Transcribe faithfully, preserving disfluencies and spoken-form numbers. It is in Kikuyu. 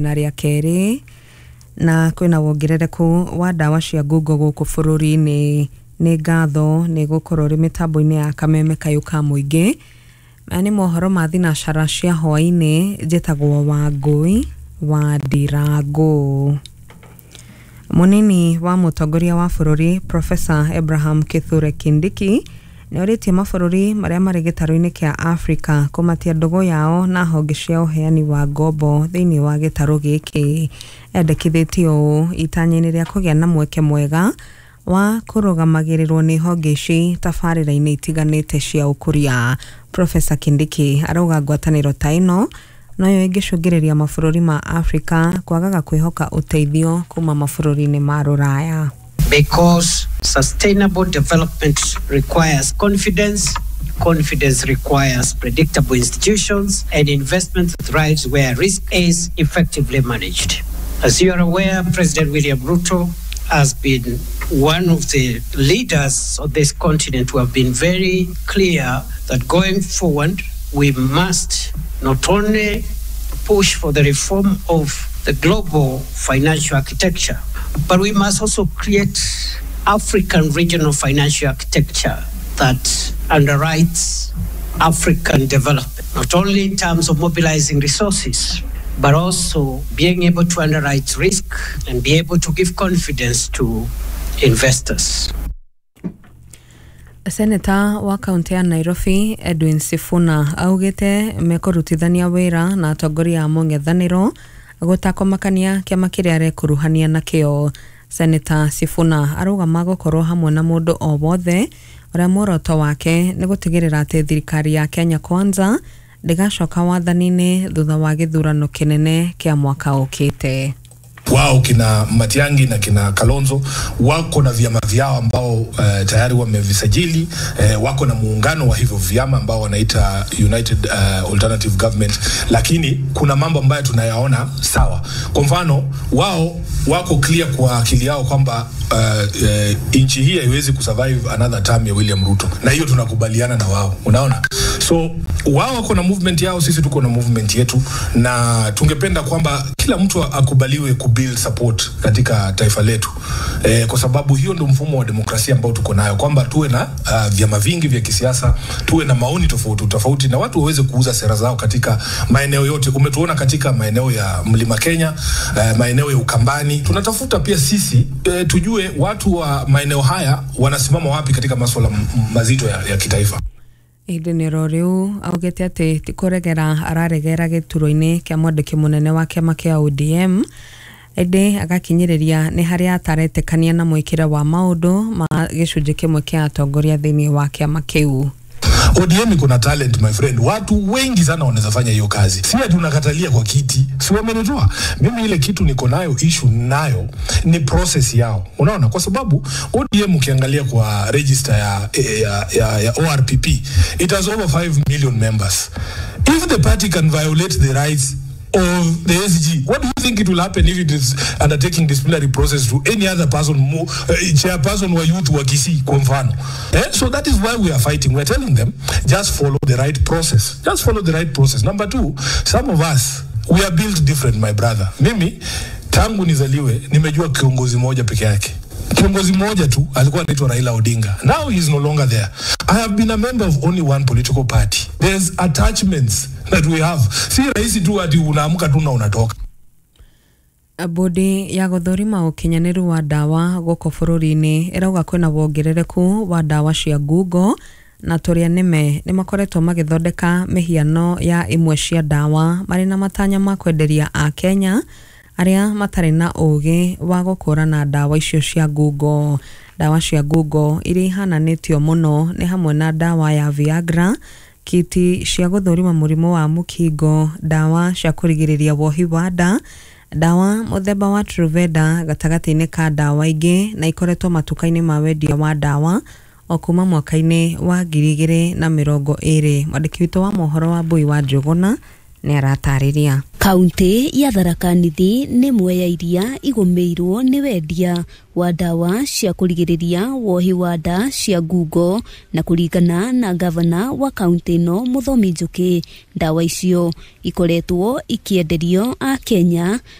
Na rĩa kerĩ na kwĩna wongerereku wa ndawa cia ngungo gũkũ bũrũri-inĩ. Nĩ ngatho nĩ gũkorwo ũrĩ mĩtambo-inĩ ya Kameme Kayũ ka Mũingĩ. Maya nĩ mohoro ma thinacara cia hwaĩ-inĩ. Njĩtagwo Wangũi wa Ndirangũ. Mũnini wa mũtongoria wa bũrũri Professor Abraham Kithure Kindiki nĩ orĩtie mabũrũri marĩa marĩ gĩtarũ-inĩ kĩa Afrika kũmatia ndũgũ yao na honge cia ũheani wa ngombo thĩinĩ wa gĩtarũ gĩkĩ. Endekithĩtie ũũ itanya-inĩ rĩa kũgĩa na mweke mwega wa kũrũgamagĩrĩrwo nĩ honge ici tabarĩra-inĩ itiganĩte cia ũkũria. Professor Kindiki arauga ngwatanĩro ta ĩno noyo ĩngĩcũngĩrĩria mabũrũri ma Afrika kwagaga kwĩhoka ũteithio kuma mabũrũri-inĩ ma rũraya. Because sustainable development requires confidence, confidence requires predictable institutions, and investment thrives where risk is effectively managed. As you are aware, President William Ruto has been one of the leaders of this continent who have been very clear that going forward, we must not only push for the reform of the global financial architecture, but we must also create African regional financial architecture that underwrites African development, not only in terms of mobilizing resources, but also being able to underwrite risk and be able to give confidence to investors. Seneta wa kaunti ya Nairobi Edwin Sifuna augĩte mekũrutithania wĩra na atongoria a mũng'ethanĩro gũtakũmakania kĩama kĩrĩa arekuruhania nakĩo. Seneta Sifuna arauga magũkorwo hamwe na mũndũ o wothe ũrĩa muoroto wake nĩ gũtigĩrĩra atĩ thirikari ya Kenya Kwanza ndĩgacoka wathani-inĩ thutha wa gĩthurano kĩnene kĩa mwaka ũkĩte. Wao kina Matiangi na kina Kalonzo wako na vyama vyao ambao uh, tayari wamevisajili, eh, wako na muungano wa hivyo vyama ambao wanaita United uh, Alternative Government, lakini kuna mambo ambayo tunayaona sawa. Kwa mfano wao wako clear kwa akili yao kwamba uh, uh, nchi hii haiwezi kusurvive another term ya William Ruto, na hiyo tunakubaliana na wao, unaona. So wao wako na movement yao, sisi tuko na movement yetu, na tungependa kwamba kila mtu akubaliwe kubuild support katika taifa letu, e, kwa sababu hiyo ndio mfumo wa demokrasia ambao tuko nayo, kwamba tuwe na uh, vyama vingi vya kisiasa, tuwe na maoni tofauti tofauti, na watu waweze kuuza sera zao katika maeneo yote. Umetuona katika maeneo ya Mlima Kenya, uh, maeneo ya Ukambani. Tunatafuta pia sisi e, tujue watu wa maeneo haya wanasimama wapi katika masuala mazito ya, ya kitaifa. Ihinda-inĩ oro rĩu augĩte atĩ ti kũregera araregera gĩturwa-inĩ kĩa mwandĩki mũnene wa kĩama kĩa O D M, ĩndĩ agakinyĩrĩria nĩ harĩa ataretĩkania na mwĩkĩre wa maũndũ ma gĩcunjĩ kĩmwe kĩa atongoria thĩinĩ wa kĩama kĩu. O D M iko na talent, my friend. Watu wengi sana wanaweza fanya hiyo kazi. Si ati unakatalia kwa kiti. Si wamenitoa. Mimi ile kitu niko nayo issue nayo ni process yao. Unaona, kwa sababu O D M ukiangalia kwa register ya, ya, ya, ya O R P P, it has over five million members. If the party can violate the rights of the S G, what do you think it will happen if it is undertaking disciplinary process to any other person, more, uh, chairperson wa youth wa Kisii kwa mfano? Eh? So that is why we are fighting. We are telling them, just follow the right process. Just follow the right process. Number two, some of us, we are built different, my brother. Mimi, tangu nizaliwe, nimejua kiongozi moja peke yake. Kiongozi mmoja tu alikuwa anaitwa Raila Odinga. Now he is no longer there. I have been a member of only one political party. There's attachments that we have. Si rahisi tu ati unaamka tu na unatoka. Bodi ya gũthũrima ũkinyanĩru wa ndawa gũkũ bũrũri-inĩ ĩrauga kwĩna wongerereku wa ndawa cia ngungo na tũrĩa nĩme nĩ makoretwo magĩthondeka mĩhiano ya imwe cia ndawa marĩ na matanya ma kwenderia Akenya arĩa matarĩ na ũgĩ wa gũkũrana ndawa icio cia ngungo. Ndawa cia ngungo iria ihananĩtio mũno nĩ hamwe na ndawa ya Viagra, kiti cia gũthũrima mũrimũ wa mũkingo, ndawa cia kũrigĩrĩria wohi wa nda, ndawa mũthemba wa Truveda gatagatĩ-inĩ ka ndawa ingĩ, na ikoretwo matuka-inĩ ma wendia wa ndawa o kuma mwaka-inĩ wa ngiri igĩrĩ na mĩrongo ĩrĩ. Mwandĩki witũ wa mohoro wa Mbui wa Njũgũna Nĩ aratarĩria. Kaunti ya Tharaka Nithi nĩ ĩmwe ya iria igũmĩirwo nĩ wendia wa ndawa cia kũrigĩrĩria wohi wa nda cia ngungo, na kũringana na gavana wa kaunti ĩno Mũthomi Njũkĩ, ndawa icio ikoretwo ikĩenderio a Kenya.